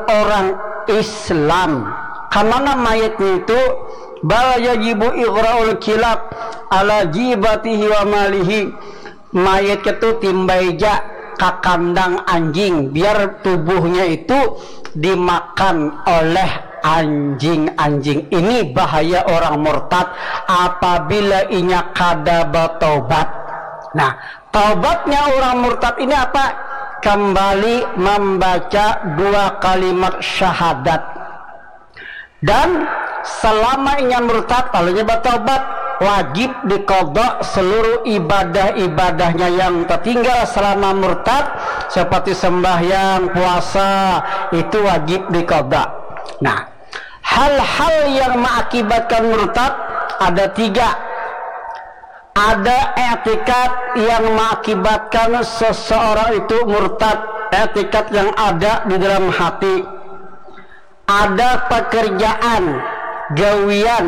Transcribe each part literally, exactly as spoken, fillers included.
orang Islam. Kamana mayatnya itu? Bal yajibu ighraul kilab ala jibatihi wa malihi. Mayat itu timbai ja ka kandang anjing, biar tubuhnya itu dimakan oleh anjing-anjing. Ini bahaya orang murtad apabila inya kada bertobat. Nah, taubatnya orang murtad ini apa? Kembali membaca dua kalimat syahadat. Dan selama inya murtad, lalu inya bertobat, wajib dikodok seluruh ibadah-ibadahnya yang tertinggal selama murtad, seperti sembahyang, puasa, itu wajib dikodok. Nah, hal-hal yang mengakibatkan murtad ada tiga. Ada etikat yang mengakibatkan seseorang itu murtad, etikat yang ada di dalam hati. Ada pekerjaan, gawian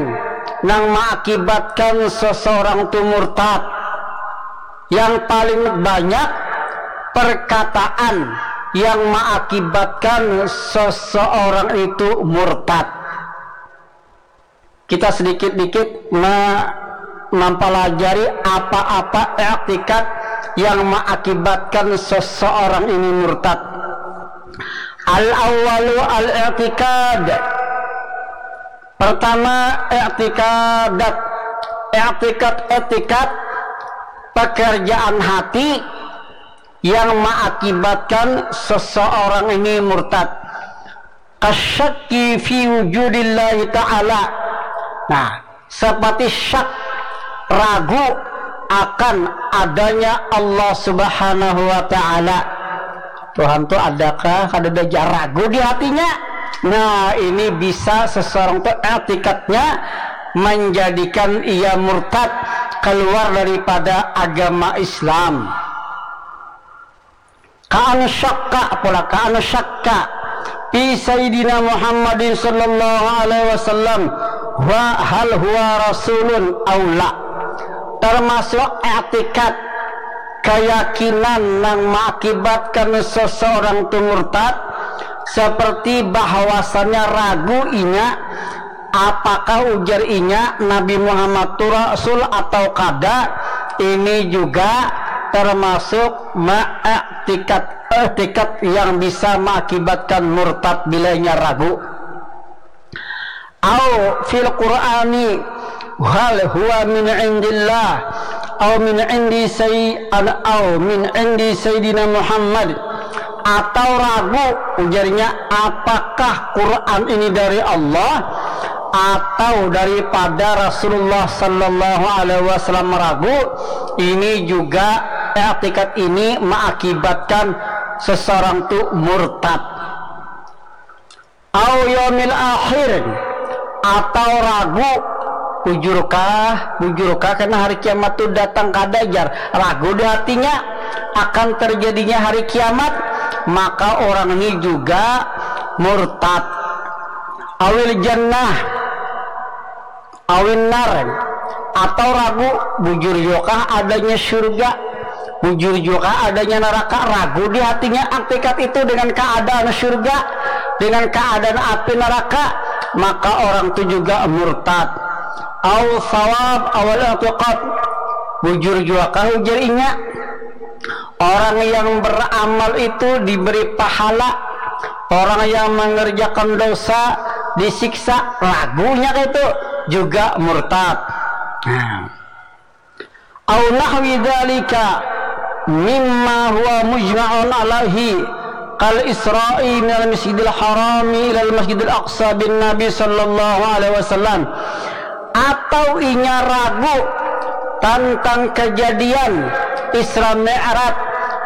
yang mengakibatkan seseorang itu murtad. Yang paling banyak perkataan yang mengakibatkan seseorang itu murtad. Kita sedikit-dikit me- mempelajari apa-apa i'tiqad yang mengakibatkan seseorang ini murtad. Al-awwalu al-i'tiqad. Pertama, i'tiqadat. I'tiqad, etikat, pekerjaan hati yang mengakibatkan seseorang ini murtad. Kasyakki fi wujudillahi ta'ala. Nah, seperti syak, ragu akan adanya Allah Subhanahu wa Ta'ala. Tuhan tu adakah? Kada ada ja ragu di hatinya. Nah, ini bisa seseorang tu etikatnya menjadikan ia murtad, keluar daripada agama Islam. Ka'an syakka pula, ka'an syakka fi Sayyidina Muhammadin sallallahu alaihi wasallam wa hal huwa rasulun aula. Termasuk i'tiqad, keyakinan yang mengakibatkan seseorang tu murtad, seperti bahwasannya ragu inya, apakah ujar inya Nabi Muhammad tu rasul atau kada. Ini juga termasuk ma'iktikad, i'tiqad yang bisa mengakibatkan murtad bila inya ragu. Au fil Qur'ani hal huwa min indillah au min indi say-, an-, au min indi Sayyidina Muhammad, atau ragu ujarnya apakah Quran ini dari Allah atau daripada Rasulullah sallallahu alaihi wasallam, ragu. Ini juga i'tiqad ini mengakibatkan seseorang tu murtad. Au yaumil akhir, atau ragu, bujurkah, bujurkah karena hari kiamat tu datang, kada jar, ragu di hatinya akan terjadinya hari kiamat, maka orang ini juga murtad. Awil jannah, awin nar, atau ragu, bujur jua kah adanya surga, bujur jua kah adanya neraka, ragu di hatinya i'tiqad itu dengan keadaan surga, dengan keadaan api neraka, maka orang tu juga murtad. Au sawab awal i'tiqad, bujur jua kah ujar inya, orang yang beramal itu diberi pahala, orang yang mengerjakan dosa disiksa, ragunya itu juga murtad. Nah. Au nahwi dzalika mimma huwa mujma'un alaihi kal isra'i minal masjidil harami ilal masjidil aqsa bin nabi sallallahu alaihi wasallam. Atau inya ragu tentang kejadian Isra Mi'raj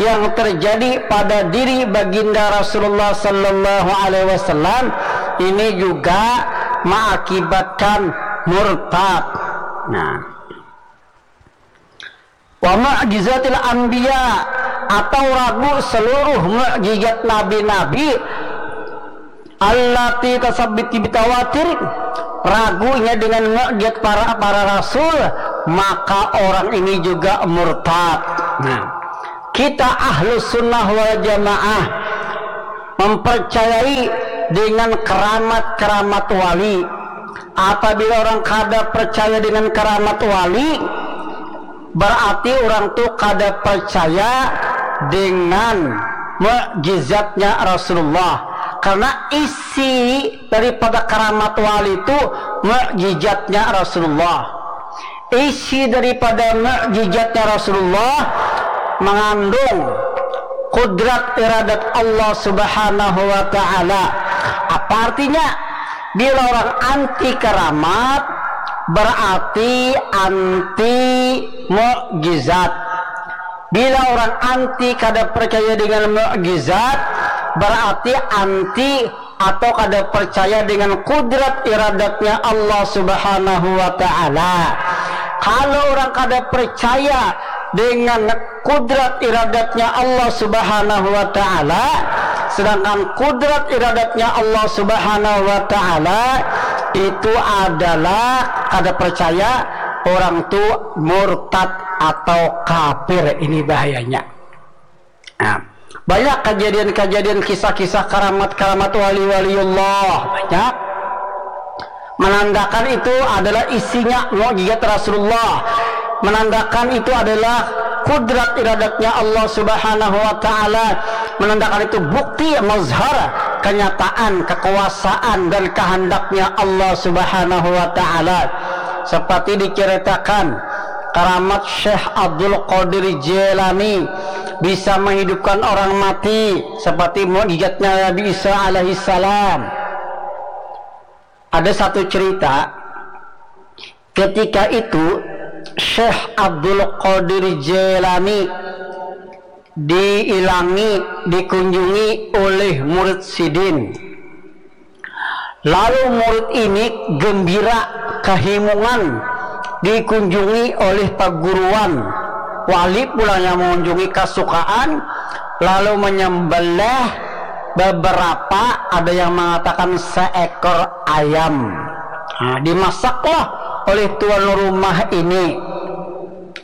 yang terjadi pada diri Baginda Rasulullah sallallahu alaihi wasallam, ini juga mengakibatkan murtad. Nah. Wa mu'jizatil anbiya, atau ragu seluruh mukjizat nabi-nabi, allati tasabbiti bitawatir, ragunya dengan mukjizat para para rasul, maka orang ini juga murtad. Nah, kita ahlu sunnah wal jamaah mempercayai dengan keramat-keramat wali. Apabila orang kada percaya dengan keramat wali, berarti orang tu kada percaya dengan mukjizatnya Rasulullah. Karena isi daripada keramat wali itu mukjizatnya Rasulullah. Isi daripada mukjizatnya Rasulullah mengandung kudrat iradat Allah Subhanahu wa Ta'ala. Apa artinya? Bila orang anti keramat, berarti anti mukjizat. Bila orang anti kada percaya dengan mukjizat, berarti anti atau kada percaya dengan kudrat iradatnya Allah Subhanahu wa Ta'ala. Kalau orang kada percaya dengan kudrat iradatnya Allah Subhanahu wa Ta'ala, sedangkan kudrat iradatnya Allah Subhanahu wa Ta'ala itu adalah kada percaya, orang tu murtad atau kafir. Ini bahayanya. Nah, banyak kejadian-kejadian, kisah-kisah keramat-keramat wali-waliullah, banyak. Menandakan itu adalah isinya mukjizat Rasulullah. Menandakan itu adalah kudrat iradatnya Allah Subhanahu wa Ta'ala. Menandakan itu bukti mazhar, kenyataan kekuasaan dan kehendaknya Allah Subhanahu wa Ta'ala. Seperti diceritakan keramat Syekh Abdul Qadir Jailani, bisa menghidupkan orang mati seperti mukjizatnya Nabi Isa alaihissalam. Ada satu cerita, ketika itu Syekh Abdul Qadir Jailani diilangi, dikunjungi oleh murid sidin. Lalu murid ini gembira, kehimungan, dikunjungi oleh paguruan. Wali pulang yang mengunjungi kasukaan, lalu menyembelih beberapa, ada yang mengatakan seekor ayam. Nah, dimasaklah oleh tuan rumah ini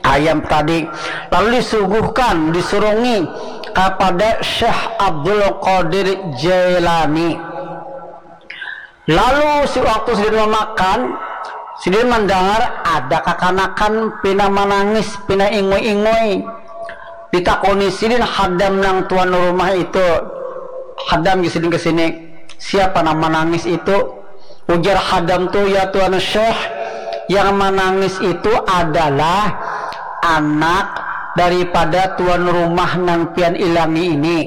ayam tadi, lalu disuguhkan, disurungi kepada Syekh Abdul Qadir Jailani. Lalu si waktu sidin memakan, sidin mendengar ada kakanakan pina menangis, pina ingui-ingui. Ditakuni sidin hadam nang tuan rumah itu. Hadam di sidin ke sini. Siapa nang menangis itu? Ujar hadam tu, ya tuan Syekh, yang menangis itu adalah anak daripada tuan rumah nang pian ilangi ini.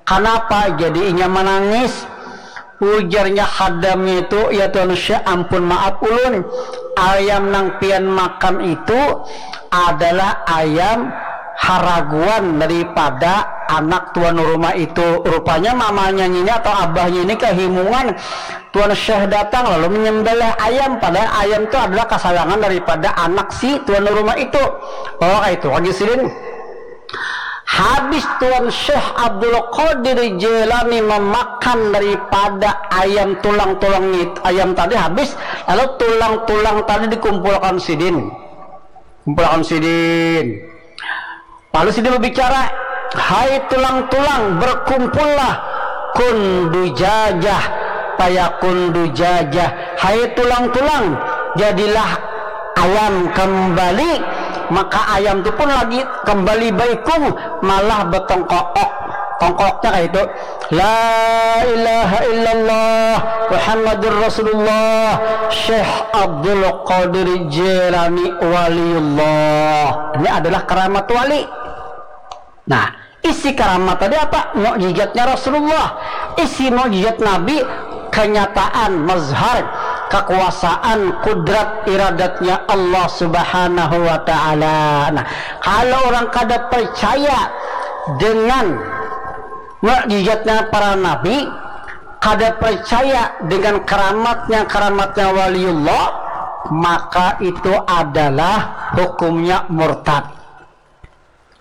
Kanapa jadi inya manangis? Ujarnya hadamnya itu, ya tuan Syekh, ampun maaf ulun, ayam nang pian makan itu adalah ayam haraguan daripada anak tuan rumah itu. Rupanya mamanya ini atau abahnya ini kehimungan. Tuan Syekh datang lalu menyembelih ayam, padahal ayam itu adalah kesayangan daripada anak si tuan rumah itu. Oh, itu lagi sidin. Habis tuan Syekh Abdul Qadir Jailani memakan daripada ayam tulang-tulang itu, ayam tadi habis, lalu tulang-tulang tadi dikumpulkan sidin. Kumpulkan sidin. Lalu sidin berbicara, "Hai tulang-tulang, berkumpullah, kun dujajah, payakun dujajah. Hai tulang-tulang, jadilah ayam kembali." Maka ayam tu pun lagi kembali baikung, malah betongkokok. Tongkoknya kayak itu. La ilaha illallah Muhammadur Rasulullah, Syekh Abdul Qadir Jailani waliullah. Ini adalah keramat wali. Nah, isi keramat tadi apa? Mukjizatnya Rasulullah. Isi mukjizat Nabi, kenyataan, mazhar, kekuasaan, kudrat, iradatnya Allah Subhanahu wa Ta'ala. Nah, kalau orang kada percaya dengan mukjizatnya para nabi, kada percaya dengan keramatnya, keramatnya waliullah, maka itu adalah hukumnya murtad.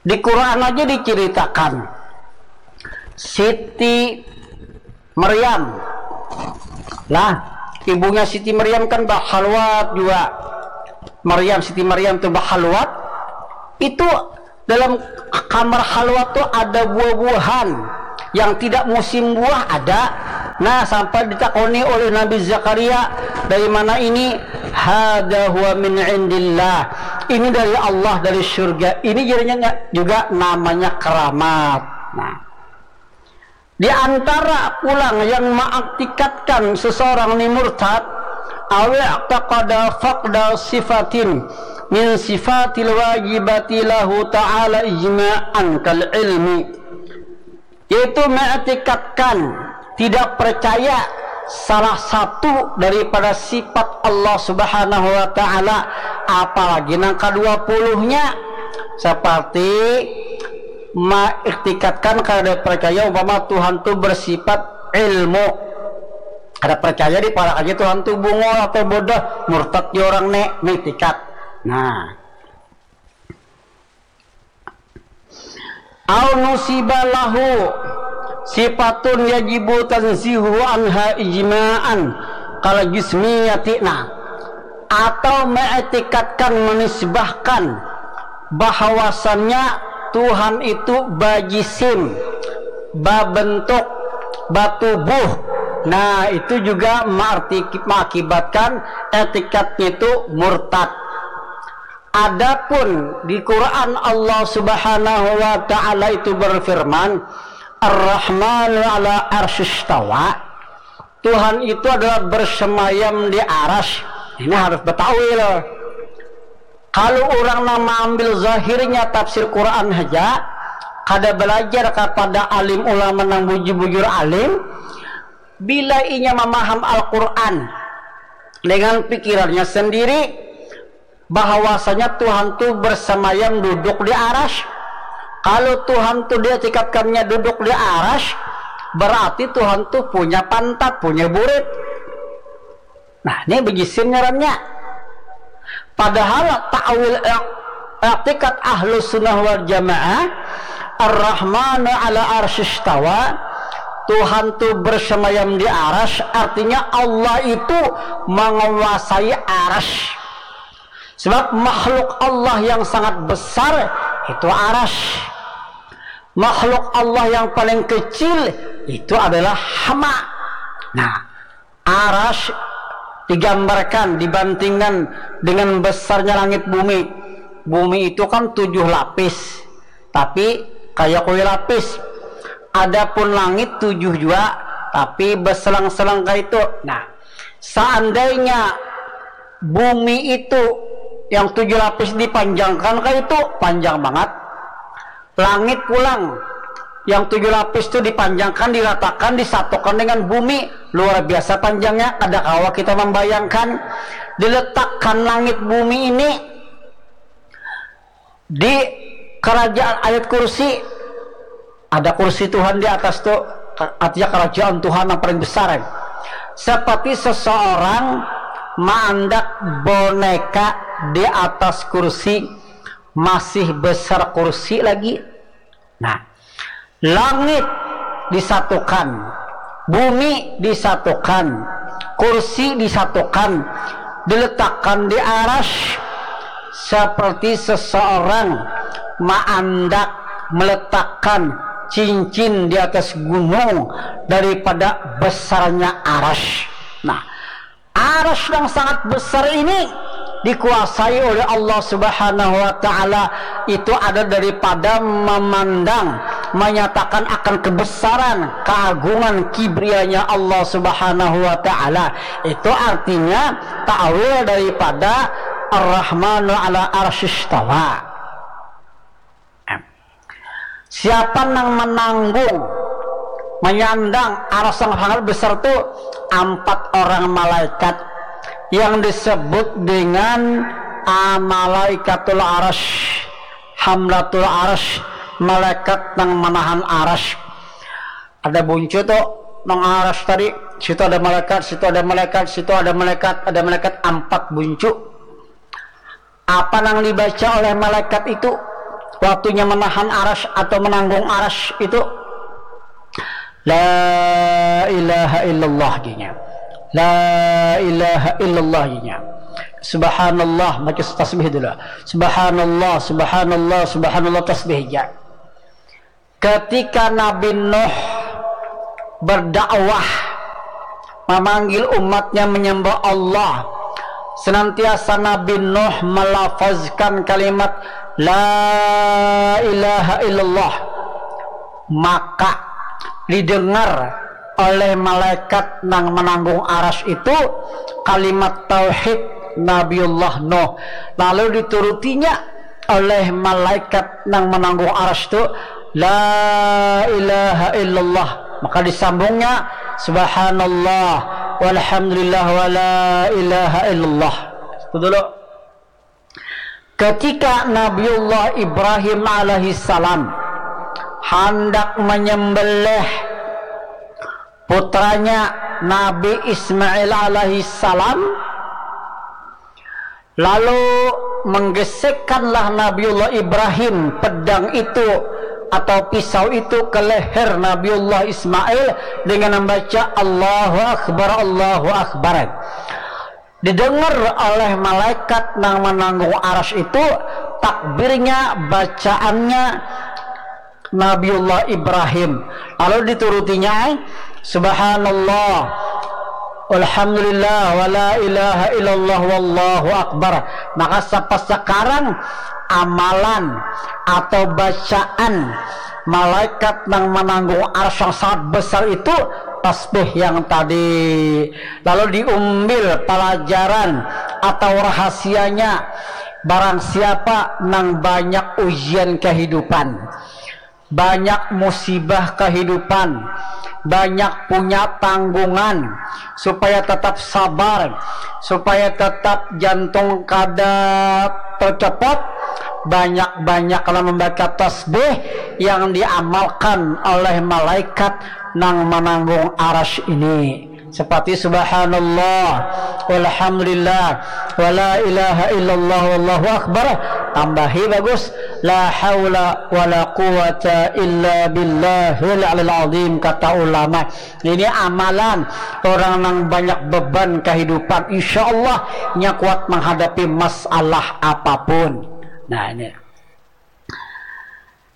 Di Quran aja diceritakan Siti Maryam. Nah, ibunya Siti Maryam kan bahalwat juga. Maryam, Siti Maryam tuh bahalwat. Itu dalam kamar halwat tuh ada buah-buahan. Yang tidak musim buah ada. Nah, sampai ditakoni oleh Nabi Zakaria, "Dari mana ini?" "Hada huwa min indillah." Ini dari Allah, dari surga. Ini jadinya nggak juga namanya keramat. Nah, di antara pulang yang mengiktikadkan seseorang ni murtad, awil taqada faqda sifatin min sifatil wajibati lahu ta'ala ijma'an kal ilmi, yaitu mengiktikadkan tidak percaya salah satu daripada sifat Allah Subhanahu wa taala, apalagi nang kedua puluhnya, seperti mengiktikadkan kada percaya umpama Tuhan tu bersifat ilmu. Kada percaya di parak aja Tuhan tu bungul atau bodoh, murtad di orang ne, mengiktikad. Nah, au nusiba lahu sifatun yajibu tanzihu anha ijma'an kal jismiyati. Nah, atau mengiktikadkan, menisbahkan bahwasannya Tuhan itu bajisim, babentuk, batubuh. Nah, itu juga mengakibatkan etikatnya itu murtad. Adapun di Quran Allah Subhanahu wa taala itu berfirman, "Ar-Rahmanu ala arsyistawa." Tuhan itu adalah bersemayam di aras. Ini harus betakwil. Kalau orang nang mengambil zahirnya tafsir Quran saja, kada belajar kepada alim ulama nang bujur-bujur alim, bila inya memaham Al-Quran dengan pikirannya sendiri, bahwasanya Tuhan tu bersemayam duduk di aras. Kalau Tuhan tu ditikatkannya duduk di aras, berarti Tuhan tu punya pantat, punya burit. Nah, ini bejisim ngarannya. Padahal ta'wil i'tikad ahlu sunnah wal jamaah, Ar-Rahmanu ala arsyistawa, Tuhan tu bersemayam di aras, artinya Allah itu menguasai aras. Sebab makhluk Allah yang sangat besar itu aras. Makhluk Allah yang paling kecil itu adalah hama. Nah, aras digambarkan, dibandingkan dengan besarnya langit bumi. Bumi itu kan tujuh lapis, tapi kaya kue lapis. Adapun langit tujuh jua, tapi beselang-selang kaitu. Nah, seandainya bumi itu yang tujuh lapis dipanjangkan kaitu, panjang banget. Langit pulang yang tujuh lapis tu dipanjangkan, diratakan, disatukan dengan bumi, luar biasa panjangnya, kada kawa kita membayangkan. Diletakkan langit bumi ini di kerajaan ayat kursi, ada kursi Tuhan di atas tu, artinya kerajaan Tuhan yang paling besar, eh. Seperti seseorang maandak boneka di atas kursi, masih besar kursi lagi. Nah, langit disatukan, bumi disatukan, kursi disatukan, diletakkan di aras, seperti seseorang maandak meletakkan cincin di atas gunung daripada besarnya aras. Nah, aras yang sangat besar ini dikuasai oleh Allah Subhanahu wa taala, itu ada daripada memandang, menyatakan akan kebesaran, keagungan, kibrianya Allah Subhanahu wa taala. Itu artinya ta'wil daripada Ar-Rahmanu ala arsyistawa. Siapa nang menanggung, menyandang aras yang sangat besar tu? Empat orang malaikat yang disebut dengan, ah, malaikatul aras, hamlatul aras, malaikat nang menahan aras. Ada buncu tu nang aras tadi, situ ada malaikat, situ ada malaikat, situ ada malaikat, ada malaikat, empat buncu. Apa nang dibaca oleh malaikat itu waktunya menahan aras atau menanggung aras itu? La ilaha illallah ginya. La ilaha illallah ginya. Subhanallah, maka tasbih dulu. Subhanallah, subhanallah, subhanallah, tasbih ja. Ketika Nabi Nuh berdakwah, memanggil umatnya menyembah Allah. Senantiasa Nabi Nuh melafazkan kalimat la ilaha illallah. Maka didengar oleh malaikat nang menanggung aras itu kalimat tauhid Nabiullah Nuh. Lalu diturutinya oleh malaikat nang menanggung aras itu la ilaha illallah. Maka disambungnya subhanallah walhamdulillah wala ilaha illallah. Itu dulu. Ketika Nabiullah Ibrahim alaihissalam hendak menyembelih putranya Nabi Ismail alaihissalam, lalu menggesekkanlah Nabiullah Ibrahim pedang itu atau pisau itu ke leher Nabiullah Ismail dengan membaca Allahu Akbar, Allahu Akbar. Didengar oleh malaikat nang menanggung aras itu takbirnya, bacaannya Nabiullah Ibrahim. Lalu diturutinya subhanallah walhamdulillah wala ilaha illallah wallahu akbar. Maka sampai sekarang amalan atau bacaan malaikat nang menanggung aras yang sangat besar itu tasbih yang tadi. Lalu diambil pelajaran atau rahasianya, barang siapa nang banyak ujian kehidupan, banyak musibah kehidupan, banyak punya tanggungan, supaya tetap sabar, supaya tetap jantung kada tercopot, banyak-banyaklah membaca tasbih yang diamalkan oleh malaikat nang menanggung aras ini. Seperti subhanallah, walhamdulillah, wala ilaha illallah, wallahu akbar. Tambahi bagus, la haula wala quwata illa billahil alil azim, kata ulama. Ini amalan orang yang banyak beban kehidupan, insya Allah nya kuat menghadapi masalah apapun. Nah ini.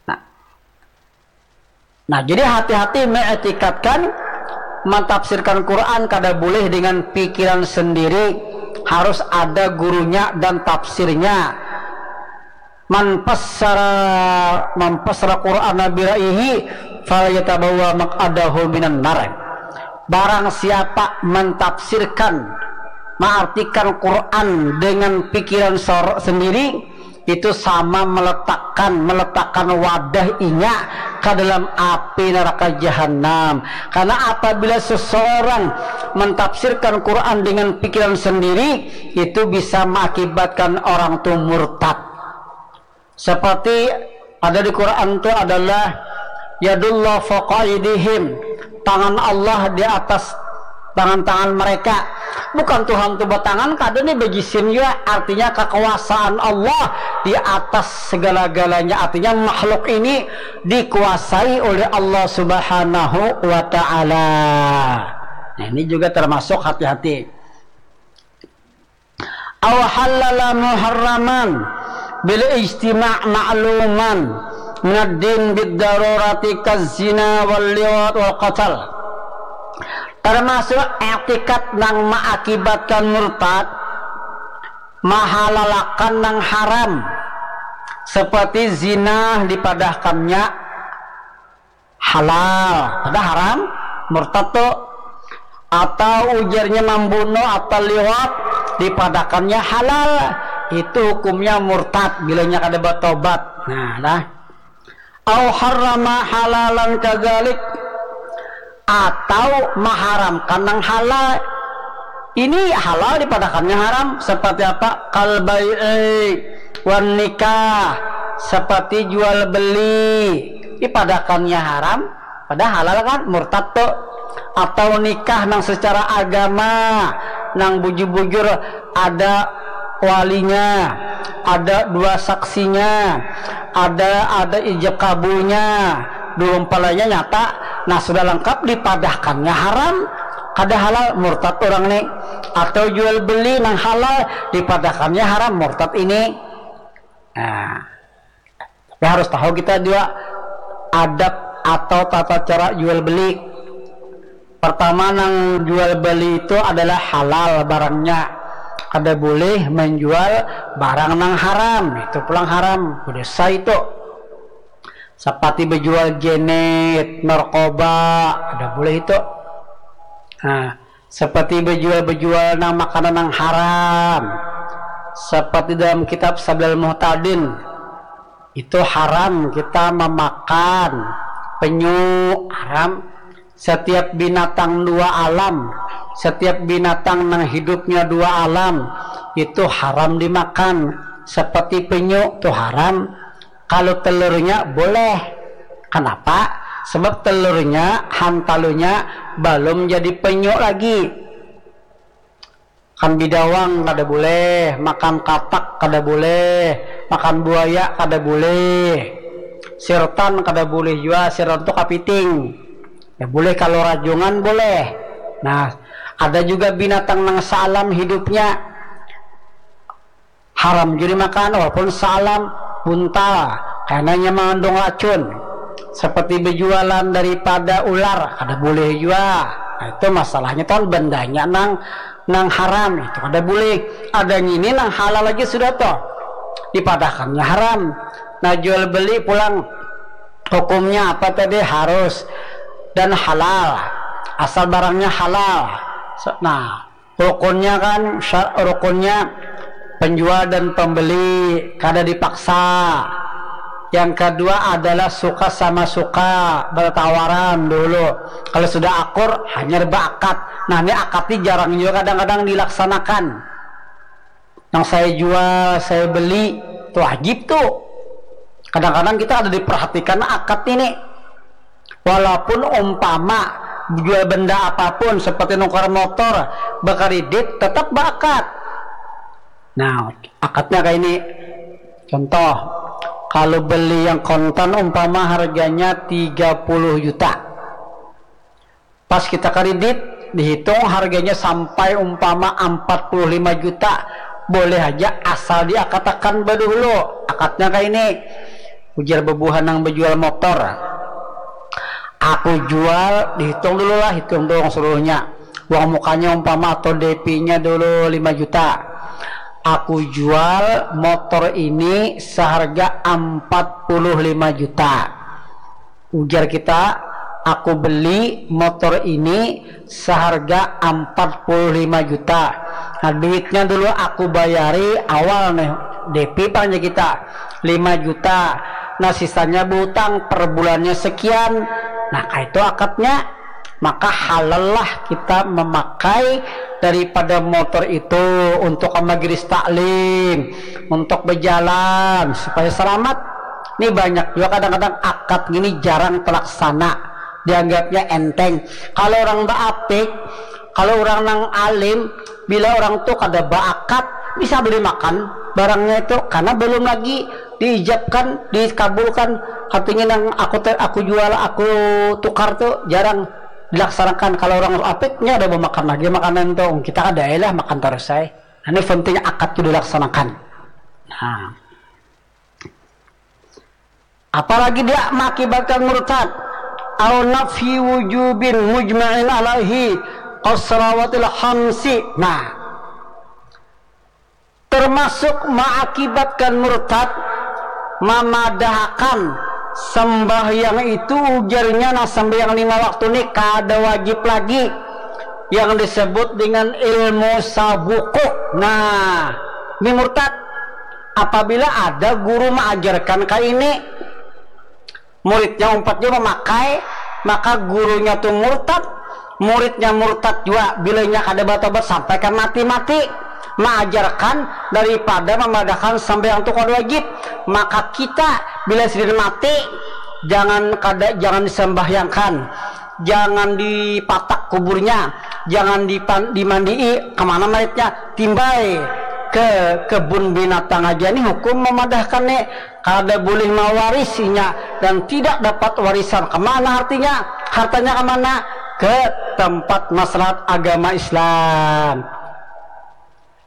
Nah, Nah, jadi hati-hati mengiktikadkan mentafsirkan Quran kada boleh dengan pikiran sendiri, harus ada gurunya dan tafsirnya. Man fassara man fassara Qur'ana biraihi falyatabawa maq'adahu minan nar. Barang siapa mentafsirkan, mengartikan Quran dengan pikiran sor- sendiri, itu sama meletakkan meletakkan wadah inya ke dalam api neraka jahanam. Karena apabila seseorang mentafsirkan Quran dengan pikiran sendiri, itu bisa mengakibatkan orang itu murtad. Seperti ada di Quran itu adalah yadullah fauqa aydihim, tangan Allah di atas tangan-tangan mereka. Bukan Tuhan tu batangan, kada nih, bejisim jua. Artinya kekuasaan Allah di atas segala-galanya. Artinya makhluk ini dikuasai oleh Allah Subhanahu wa Ta'ala. Nah, ini juga termasuk hati-hati. Au halala muharraman bil ijtima' ma'luman minad din bid darurati kaz zina wal liwat wal qatal. Termasuk etikat nang mengakibatkan murtad, mahalalakan nang haram, seperti zina dipadahkannya halal, pada haram, murtad tu. Atau ujarnya membunuh atau liwat, dipadakannya halal, itu hukumnya murtad bilanya kada bertobat. Nah, dah. Au harrama halalan kadzalik, atau mengharamkan yang halal. Ini halal dipadakannya haram, seperti apa? Kal bai'i wan nikah, seperti jual beli, dipadakannya haram, padahal halal kan, murtad tu. Atau nikah nang secara agama, nang bujur-bujur ada walinya, ada dua saksinya, ada ada ijab kabulnya, dua mempelainya nyata. Nah, sudah lengkap, dipadahkannya haram, kada halal, murtad orang ni. Atau jual beli nang halal, dipadahkannya haram, murtad ini. Nah, tapi harus tahu kita juga adab atau tata cara jual beli. Pertama, nang jual beli itu adalah halal barangnya. Kada boleh menjual barang nang haram, itu pulang haram, berdosa itu. Seperti bejual jenet, narkoba, kada boleh itu. Nah, seperti bejual-bejual nang makanan nang haram. Seperti dalam kitab Sabilal Muhtadin, itu haram kita memakan penyu, haram. Setiap binatang dua alam, setiap binatang nang hidupnya dua alam, itu haram dimakan. Seperti penyu tu haram. Kalau telurnya boleh. Kenapa? Sebab telurnya, hantalunya belum jadi penyu lagi. Makan bidawang kada boleh, makan katak kada boleh, makan buaya kada boleh, sirtan kada boleh jua, sirtan tu kapiting. Ya boleh kalau rajungan boleh. Nah, ada juga binatang nang saalam hidupnya. Haram jua dimakan walaupun saalam, buntal, karena inya mengandung racun. Seperti bejualan daripada ular, kada boleh jua. Nah, itu masalahnya kan bendanya nang nang haram, itu kada boleh. Ada ngini nang halal lagi sudah toh, dipadahkannya haram. Nah, jual beli pulang hukumnya apa tadi? Harus dan halal, asal barangnya halal. So, nah, rukunnya kan, sya- rukunnya penjual dan pembeli kada dipaksa. Yang kedua adalah suka sama suka, bertawaran dulu. Kalau sudah akur, hanyar beakad. Nah, ini akad ini jarang juga kadang-kadang dilaksanakan. Yang saya jual, saya beli, itu wajib tuh. Kadang-kadang kita ada diperhatikan akad ini. Walaupun umpama jual benda apapun seperti nukar motor, berkredit, tetap beakad. Nah, akadnya kayak ini. Contoh, kalau beli yang kontan umpama harganya tiga puluh juta. Pas kita kredit, dihitung harganya sampai umpama empat puluh lima juta, boleh aja asal diakatakan badahulu. Akadnya kayak ini. Ujar bebuhan nang bejual motor. Aku jual, dihitung dulu lah, hitung dulu uang seluruhnya. Uang mukanya umpama atau D P-nya dulu lima juta. Aku jual motor ini seharga empat puluh lima juta. Ujar kita, aku beli motor ini seharga empat puluh lima juta. Nah, duitnya dulu aku bayari awal nih, D P pang jar kita, lima juta. Nah, sisanya berutang per bulannya sekian. Nah, kayak itu akadnya. Maka halal lah kita memakai daripada motor itu untuk ke majelis taklim, untuk berjalan supaya selamat. Ini banyak juga kadang-kadang akad ini jarang terlaksana, dianggapnya enteng. Kalau orang baapik, kalau orang nang alim, bila orang tu kada baakad, bisa beli makan barangnya itu karena belum lagi diijabkan, dikabulkan. Artinya yang aku te- aku jual, aku tukar tu jarang dilaksanakan. Kalau orang apiknya ada mau makan lagi makanan tu, kita kada lah makan terus saya. Ini penting akad tu dilaksanakan. Nah, apalagi dia mengakibatkan murtad. Au nafi wujubin mujma'in alaihi qasrawatil hamsi. Nah, termasuk mengakibatkan murtad, memadahakan sembahyang itu ujarnya, nah, sembahyang lima waktu ni kada wajib lagi, yang disebut dengan ilmu sabuku. Nah, ini murtad. Apabila ada guru mengajarkan kayak ini, muridnya umpat juga memakai, maka gurunya tu murtad, muridnya murtad juga, bilanya kada bertobat sampai ke mati-mati, mengajarkan daripada memadakan sembahyang tu kada wajib. Maka kita bila sidin mati, jangan kada jangan disembahyangkan, jangan dipatak kuburnya, jangan dipan, dimandii. Kemana mayatnya? Timbai ke kebun binatang aja nih hukum memadahkan nih. Kada boleh mewarisinya dan tidak dapat warisan. Kemana artinya? Hartanya kemana? Ke tempat maslahat agama Islam.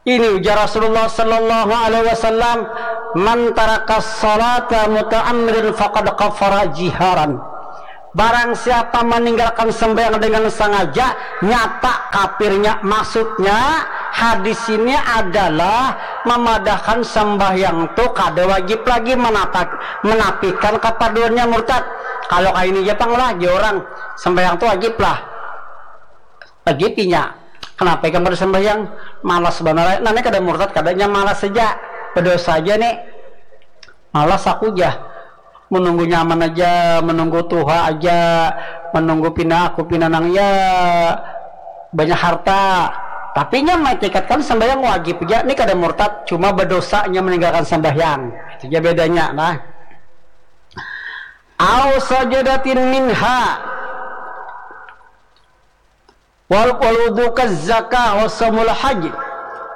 Ini ujar Rasulullah sallallahu alaihi wasallam, "Man taraka salata muta'ammidan faqad kafara jiharan." Barang siapa meninggalkan sembahyang dengan sengaja, nyata kafirnya. Maksudnya, hadis ini adalah memadahkan sembahyang tu kada wajib lagi, menata-, menapikan kapaduannya murtad. Kalau kaini ja pang lah, jar orang, sembahyang tu wajib lah. Wajib inya. Kenapa ikam kada sembahyang? Malas banar ai. Nah, ni kada murtad, kada, nya malas saja. Berdosa aja ni. Malas aku ja. Menunggu nyaman aja, menunggu tuha aja, menunggu pina aku pina nang ya banyak harta. Tapi nya maitikatkan sembahyang wajib ja. Ni kada murtad, cuma bedosanya meninggalkan sembahyang. Itu ja bedanya, nah. Au sajadatin minha. Wal, wal wudu kaz zakah wa saumul hajj.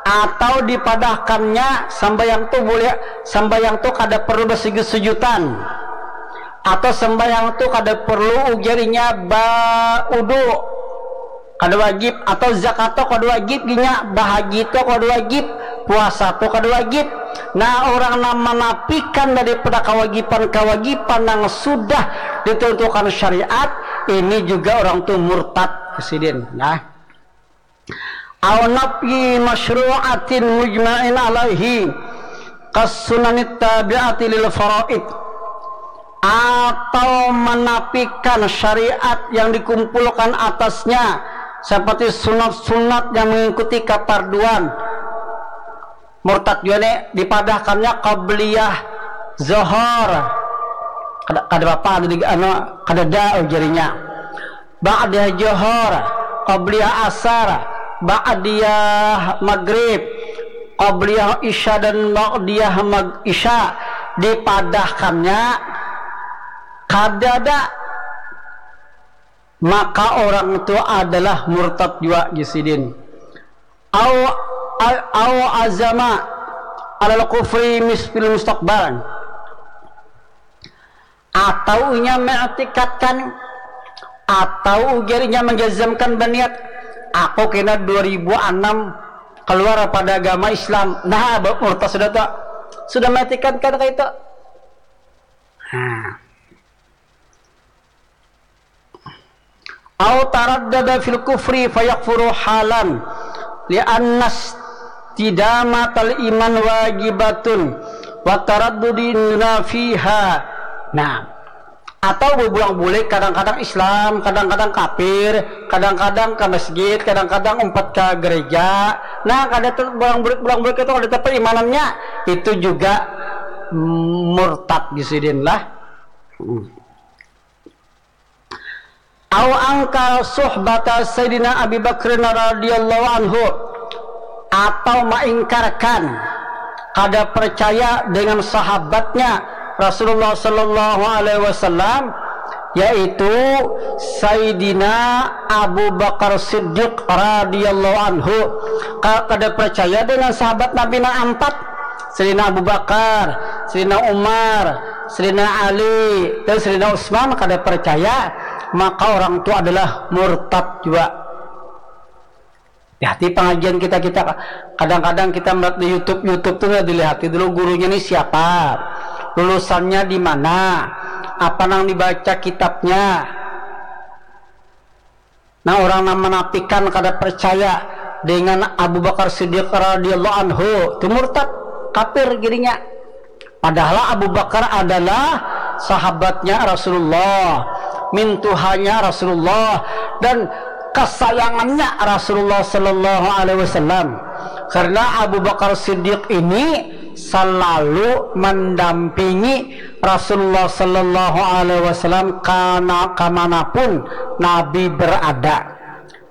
Atau dipadahkannya, sambayang tu boleh, sambayang tu kada perlu bersujud-sujutan. Atau sambayang tu kada perlu ujarinya baudu. Kada wajib. Atau zakat tu kada wajib, ginya bahaji tu kada wajib. Puasa tu kada wajib. Nah, orang nang manapikan daripada kawajiban-kawajiban nang sudah ditentukan syariat, ini juga orang tu murtad, sidin. Nah. Au nafyi masyru'atin mujma'in alaihi, kas sunanit tabi'ati lil faraid. Atau menapikan syariat yang dikumpulkan atasnya, seperti sunat-sunat yang mengikuti kaparduan. Murtad jua ni, dipadahkannya qabliyah zohor. Kada, kada apa-apa, ada di, anu, kada ada ujarinya. Ba'diyah johor, qabliyah asar, ba'diyah maghrib, qabliyah isya dan ba'diyah mag-, isya dipadahkannya kada ada. Maka orang tu adalah murtad jua, jar sidin. Au, au, au azama alal kufri mis-, fil mustaqbal. Atau inya mengiktikadkan, atau ujar inya menjazamkan berniat, aku kena dua ribu enam keluar pada agama Islam. Nah, ba-, murtad sudah tu. Sudah mengiktikadkan kayak itu. Nah. Au taraddada fil kufri fayakfuru halan, li'anna istidamatal iman wajibatun wa taraddudi induna fiha. Nah, atau bebulang-bulik, kadang-kadang Islam, kadang-kadang kafir, kadang-kadang ke masjid, kadang-kadang umpat ke gereja. Nah, kada ter-, bulang-bulik, bulang-bulik itu kada tetap imanannya, itu juga murtad, jar sidin lah. Hmm. Au angkara suhbata Sayyidina Abi Bakrin radhiyallahu anhu, atau maingkarkan, kada percaya dengan sahabatnya Rasulullah sallallahu alaihi wasallam, yaitu Sayyidina Abu Bakar Siddiq radhiyallahu anhu. Ka-, kada percaya dengan sahabat Nabi nang ampat, Sayyidina Abu Bakar, Sayyidina Umar, Sayyidina Ali, dan Sayyidina Utsman, kada percaya, maka orang tu adalah murtad jua. Hati-hati pengajian kita, kita kadang-kadang kita melihat di YouTube, YouTube tu nah, dilihati dulu gurunya ni siapa, lulusannya di mana, apa nang dibaca kitabnya. Nah, orang nang manapikan kada percaya dengan Abu Bakar Siddiq radhiyallahu anhu, tu murtad, kafir dirinya. Padahal Abu Bakar adalah sahabatnya Rasulullah, mintuhanya Rasulullah, dan kesayangannya Rasulullah sallallahu alaihi wasallam. Karena Abu Bakar Siddiq ini selalu mendampingi Rasulullah sallallahu alaihi wasallam kana, kamanapun Nabi berada.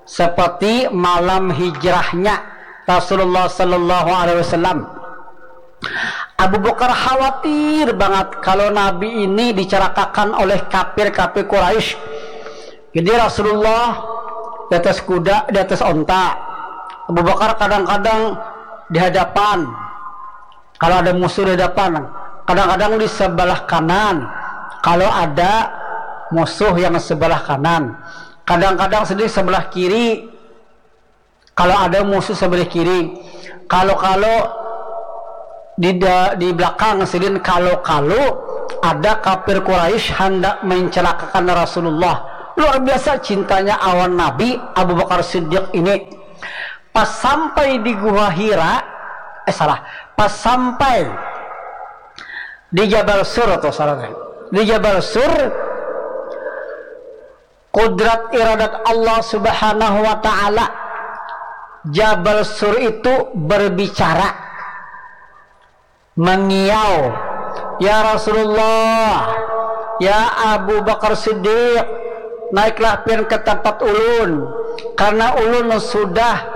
Seperti malam hijrahnya Rasulullah sallallahu alaihi wasallam. Abu Bakar khawatir banget kalau Nabi ini dicelakakan oleh kafir-kafir Quraisy. Jadi Rasulullah di atas kuda, di atas onta. Abu Bakar kadang-kadang di hadapan. Kalau ada musuh di hadapan, kadang-kadang di sebelah kanan. Kalau ada musuh yang sebelah kanan, kadang-kadang sedih sebelah kiri. Kalau ada musuh sebelah kiri, kalau-kalau di da-, di belakang sidin, kalau-kalau ada kafir Quraisy handak mencelakakan Rasulullah. Luar biasa cintanya awan Nabi Abu Bakar Siddiq ini. Pas sampai di Gua Hira, eh salah, pas sampai di Jabal Sur atau salah, di Jabal Sur, kudrat iradat Allah Subhanahu wa Ta'ala, Jabal Sur itu berbicara, mengiau, "Ya Rasulullah, ya Abu Bakar Siddiq, naiklah pian ke tempat ulun, karena ulun sudah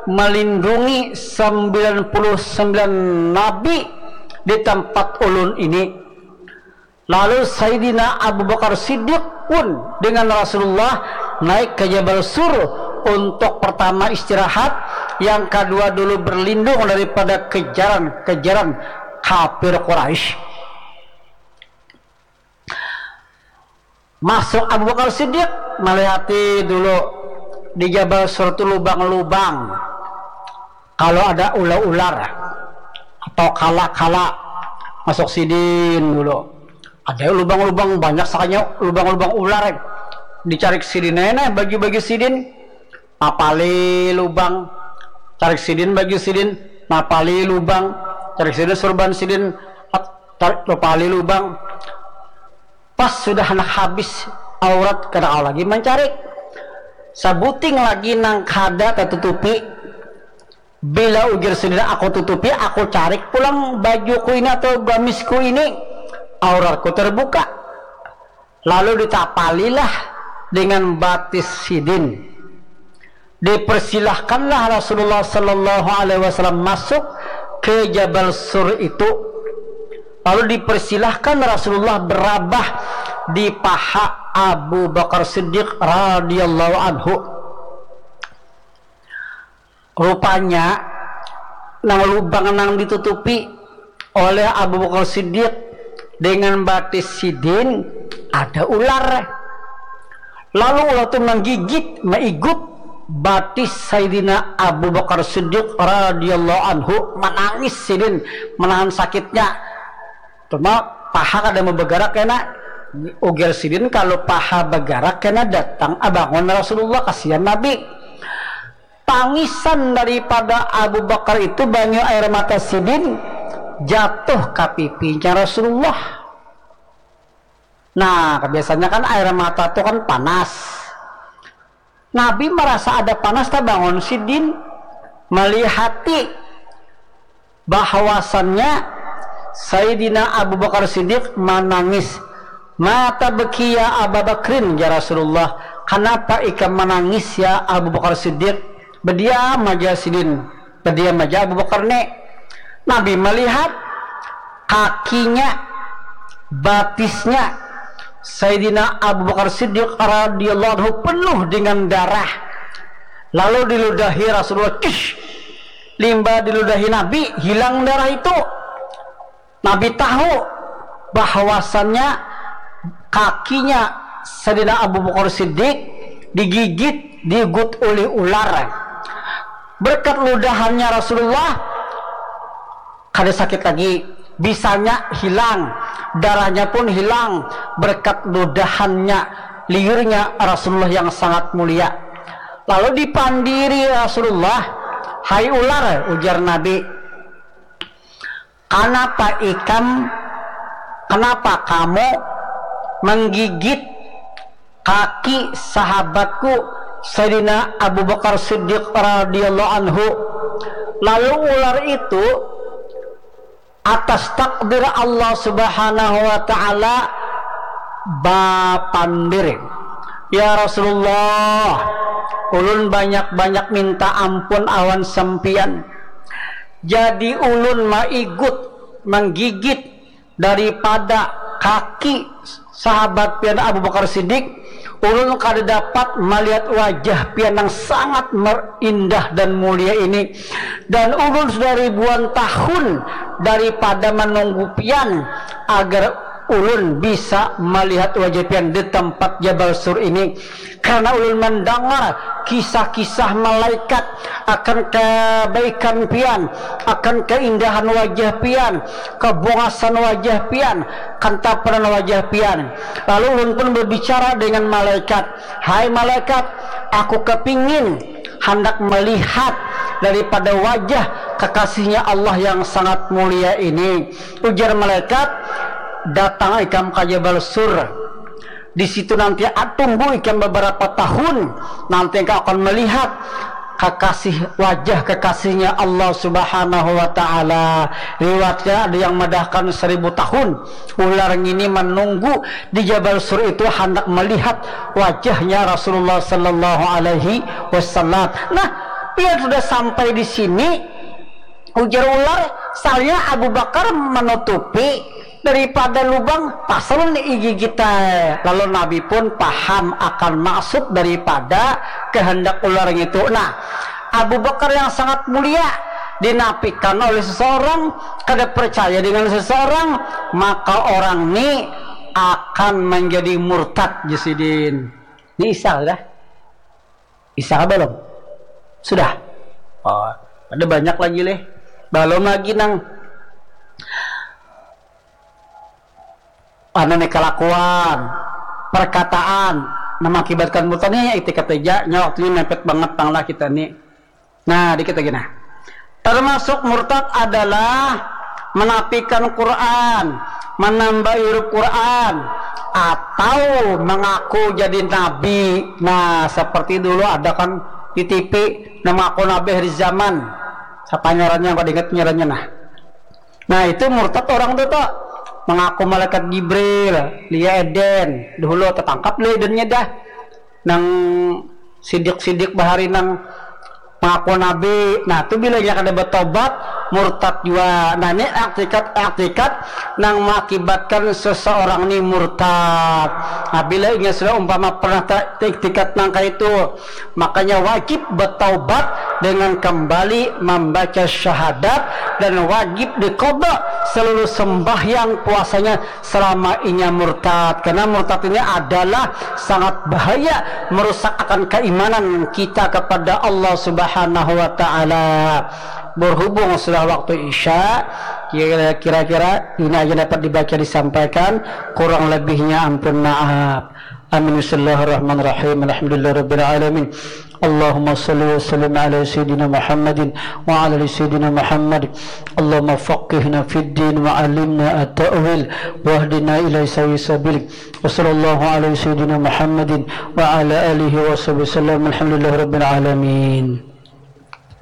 melindungi sembilan puluh sembilan nabi di tempat ulun ini." Lalu Sayyidina Abu Bakar Siddiq pun dengan Rasulullah naik ke Jabal Sur untuk pertama istirahat, yang kedua dulu berlindung daripada kejaran-kejaran kafir Quraisy. Masuk Abu Bakar Siddiq, melihati dulu di Jabal Sur itu lubang-lubang. Kalau ada ular-ular atau kala-kala, masuk sidin dulu. Ada lubang-lubang, banyak sakanya lubang-lubang ular. Dicarik sidin aja nah, baju-baju sidin. Napali lubang, carik sidin baju sidin, napali lubang, carik sidin surban sidin, tarik, napali lubang. Pas sudah handak habis aurat, kada kawa lagi mancarik. Sabuting lagi nang kada tatutupi. Bila ujar sidin, "Aku tutupi, aku carik pulang bajuku ini atau gamisku ini, auratku terbuka." Lalu ditapalilah dengan batis sidin. Dipersilahkanlah Rasulullah Sallallahu Alaihi Wasallam masuk ke Jabal Sur itu. Lalu dipersilahkan Rasulullah berabah di paha Abu Bakar Siddiq radhiyallahu anhu. Rupanya nang lubang nang ditutupi oleh Abu Bakar Siddiq dengan batis sidin, ada ular. Lalu ular tu menggigit, maigut batis Sayyidina Abu Bakar Siddiq radhiyallahu anhu, menangis sidin, menahan sakitnya. Cuma paha kada mau bergerak kena. Ujar sidin, kalau paha bergerak kena datang abangun Rasulullah, kasihan Nabi. Tangisan daripada Abu Bakar itu, banyu air mata sidin jatuh ke pipinya Rasulullah. Nah, biasanya kan air mata itu kan panas. Nabi merasa ada panas, tabangun sidin, melihati bahwasannya Sayyidina Abu Bakar Siddiq manangis. "Mata bekia Aba Bakrin, ya Rasulullah, kenapa ikam menangis ya Abu Bakar Siddiq?" Berdiam aja sidin, berdiam aja Abu Bakar ni. Nabi melihat kakinya, batisnya Sayyidina Abu Bakar Siddiq radhiyallahu anhu penuh dengan darah. Lalu diludahi Rasulullah, kish, limba diludahi Nabi, hilang darah itu. Nabi tahu bahwasannya kakinya Sayyidina Abu Bakar Siddiq digigit, digut oleh ular. Berkat ludahannya Rasulullah, kada sakit lagi, bisanya hilang, darahnya pun hilang berkat ludahannya, liurnya Rasulullah yang sangat mulia. Lalu dipandiri Rasulullah, "Hai ular," ujar Nabi, "kenapa ikam, kenapa kamu menggigit kaki sahabatku Sayyidina Abu Bakar Siddiq radhiyallahu anhu?" Lalu ular itu atas takdir Allah Subhanahu wa Ta'ala bapandir, "Ya Rasulullah, ulun banyak-banyak minta ampun awan sampian. Jadi ulun maigut, menggigit daripada kaki sahabat pian Abu Bakar Siddiq, ulun kada dapat melihat wajah pian yang sangat indah dan mulia ini. Dan ulun sudah ribuan tahun daripada menunggu pian agar Ulun bisa malihat wajah pian di tempat Jabal Sur ini karena ulun mandangar kisah-kisah malaikat akan kabaikan pian, akan keindahan wajah pian, kabungasan wajah pian, kantapanan wajah pian. Lalu ulun pun berbicara dengan malaikat, "Hai malaikat, aku kepingin handak melihat daripada wajah kekasihnya Allah yang sangat mulia ini." Ujar malaikat, "Datang ikam ka Jabal Sur. Di situ nanti tunggu ikam beberapa tahun. Nanti engkau akan melihat kekasih, wajah kekasihnya Allah Subhanahu wa Ta'ala." Riwayatnya ada yang madahkan seribu tahun. Ular ngini menunggu di Jabal Sur itu hendak melihat wajahnya Rasulullah Sallallahu Alaihi Wasallam. Nah, ia sudah sampai di sini, ujar ular, soalnya Abu Bakar menutupi daripada lubang pasal ni igi kita. Lalu Nabi pun paham akan maksud daripada kehendak ular itu. Nah, Abu Bakar yang sangat mulia dinapikan oleh seseorang, kada percaya dengan seseorang, maka orang ni akan menjadi murtad, Jisidin. Ini Isa sudah? Isa kah belum? Sudah. Oh, ada banyak lagi leh. Belum lagi nang anu nih kelakuan, perkataan, mengakibatkan murtad nih itikad aja, nya waktunya mepet banget pang lah kita nih. Nah, dikit lagi nah. Termasuk murtad adalah menapikan Quran, menambahi huruf Quran, atau mengaku jadi nabi. Nah, seperti dulu ada kan di T V, nama aku nabi hari zaman. Siapa ngarannya, kau ingat ngarannya nah. Nah, itu murtad orang tuh tuh. Mengaku malaikat Jibril, lia Eden. Dulu tertangkap lia Edennya dah. Nang sidik-sidik bahari nang mengaku nabi. Nah, tu bila inya kada bertobat, murtad jua. Nah, ini iktikad-iktikad nang mengakibatkan seseorang ni murtad. Nah, bila inya sudah umpama pernah ta-, iktikad nang kaya itu, makanya wajib bertaubat dengan kembali membaca syahadat dan wajib diqadha seluruh sembahyang puasanya selama inya murtad. Karena murtad ini adalah sangat bahaya, merusak akan keimanan kita kepada Allah Subhanahu wa Ta'ala. Berhubung sudah waktu Isya, kira-kira ini aja dapat dibaca disampaikan, kurang lebihnya ampun maaf. Amin. Bismillahirrahmanirrahim. Alhamdulillahirabbil alamin. Allahumma salli wa sallim ala sayyidina Muhammadin wa ala ali sayyidina Muhammad. Allahumma faqqihna fid din wa alimna at-ta'wil wahdina ila sawi sabil. Wa sallallahu ala sayyidina Muhammadin wa ala alihi wa sahbihi wasallam. Alhamdulillahirabbil alamin.